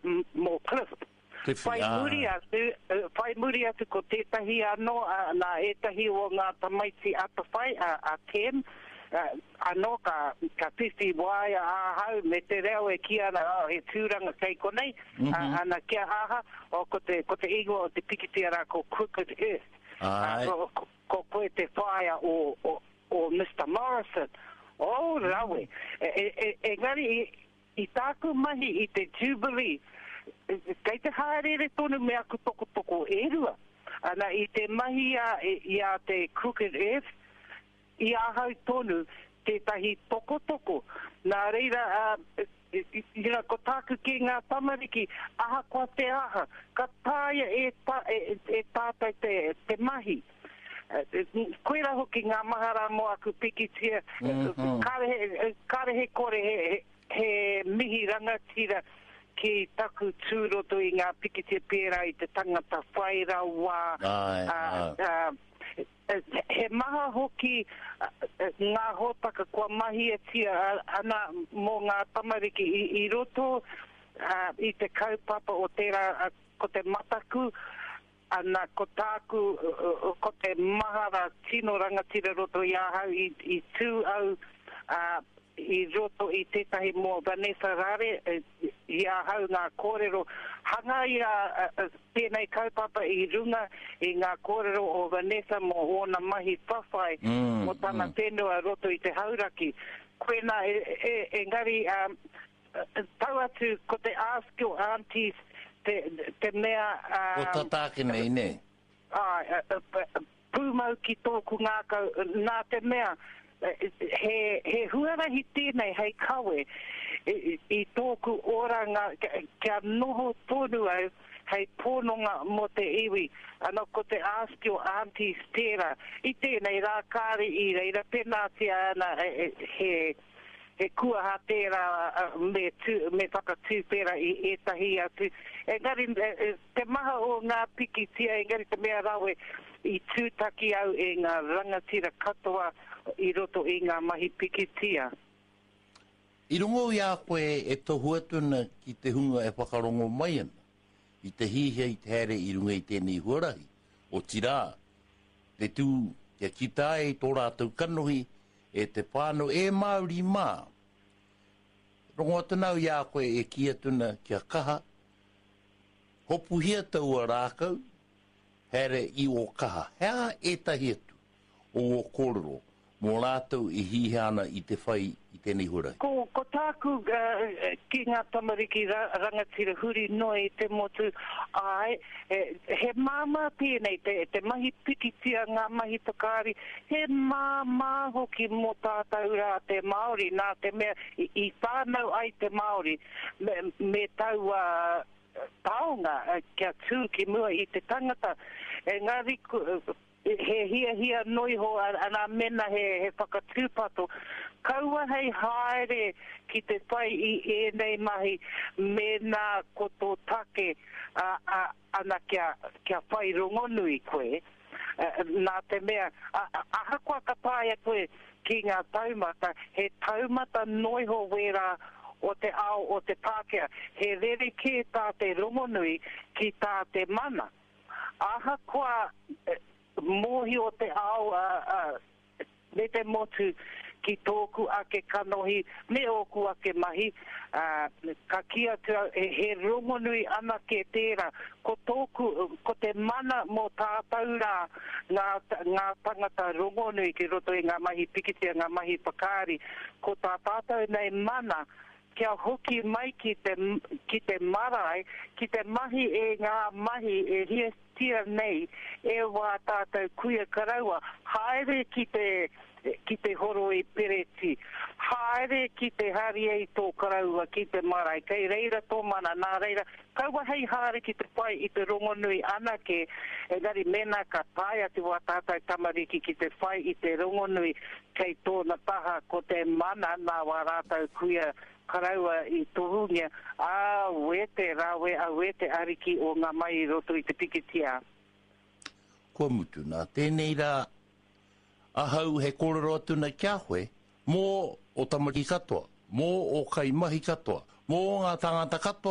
mō Cliff. Cliffy, Whai muri atu, whai muri atu ko tētahi anō, nā ētahi o ngā tamaiti atawhai, a Tem, anō ka, ka whiwhi waea ahau me te reo e kī ana, oh, he tūranga kei konei, ana kia aha, oh, ko te, ko te ingoa o te pikitia rā ko Crooked Earth. Āe. Ko, ko koe te whaea o, o, o Mister Morrison. Oh, rawe. E, e, e, engari, i, I tāku mahi i te Jubilee, kei te hāereere tonu me aku tokotoko e rua. Ana, i te mahi a, i a te Crooked Earth, i ahau tonu tētahi tokotoko. Nā reira, you know, ko tāku ki ngā tamariki, ahakoa te aha, ka taea e, e, e tātou te, te mahi. Koirā hoki ngā mahara mō aku pikitia, kāre he, kāre he kore he, he mihi rangatira ki taku tū roto i ngā pikitia pērā i te tangata whai rawa, he maha hoki ngā hōtaka kua mahiatia ana mō ngā tamariki i roto i te kaupapa o tērā ko te mataku Ana, ko tāku, ko te mahara tino rangatira roto i ahau, i, i tū au, ā, i roto i tētahi mō Vanessa Rare, i ahau ngā kōrero, hangaia tēnei kaupapa i runga i ngā kōrero o Vanessa mō ōna mahi whawhai mō tana whenua roto i te Hauraki. Koinā, e, e, engari, ā, Tau atu ko te Ask Your Aunties te, te mea... Ko tata ake nei, nē? Āe, pūmau ki tōku ngākau, nā te mea, he, he huarahi tēnei hei kawe i tōku oranga kia noho tonu au hei pononga mō te iwi. Ana, ko te Ask Your Aunties tērā. I tēnei rā kāre i reira, pēnātia ana he, He kuaha tērā me tū, me whakatūwhera i ētahi atu. Engari, te maha o ngā pikitia, engari te mea rawe, i tūtaki au e ngā rangatira katoa i roto i ngā mahi pikitia. I rongo i a koe e tohu atu ana ki te hunga e whakarongo mai ana i te hihia i te haere i runga i tēnei huarahi, otirā, te tū kia kita ai tō rātou kanohi e te whānau, e Māori mā. Rongo atu nā au i a koe e kī atu ana kia kaha, hopuhia taua rākau, haere i ō kaha. He aha ētahi atu o ō kōrero mō rātou e hihia ana i te whai i tēnei huarahi? Ko, ko tāku ki ngā tamariki rangatira huri noa i te motu, āe, he māmā tēnei, te, te mahi pikitia, ngā mahi whakaari, he māmā hoki mō tātou rā te Māori, nā te mea i, i whānau ai te Māori me, me taua taonga kia tū ki mua i te tangata. Engari, He hiahia noiho ana mena he whakatūpato, kaua hei haere ki te whai i ēnei mahi mēnā ko tō take ana kia whai rongonui koe, nā te mea ahakoa ka taea koe ki ngā taumata, he taumata noiho wērā o te ao o te Pākehā, he rerekē tā te rongonui ki tā te mana. Ahakoa mōhio te ao me te motu ki tōku ake kanohi me ōku ake mahi, ka kī atu au he rongonui anake tērā. Ko tōku, ko te mana mō tātou rā ngā, ngā tangata rongonui ki roto i ngā mahi pikitia, ngā mahi whakaari, ko tā tātou nei mana kia hoki mai ki te, ki te marae, ki te mahi e ngā mahi e hiahiatia nei e wā tātou kuia karaua, haere ki te, ki te horoi pereti, haere ki te haria i tō karaua ki te marae, kei reira tō mana, nā reira, kaua hei haere ki te whai i te rongonui anake, engari mēnā ka tae atu wā tātou tamariki ki te whai i te rongonui, Kei tōna taha ko te mana nā wā rātou kuia karaua i tohungia, Auē te rawe, auē te ariki o ngā mai i roto i te pikitia. Kua mutu nā tēnei rā ahau he kōrero atu nei ki a koe mō ō tamariki katoa, mō ō kaimahi katoa, mō ngā tāngata katoa.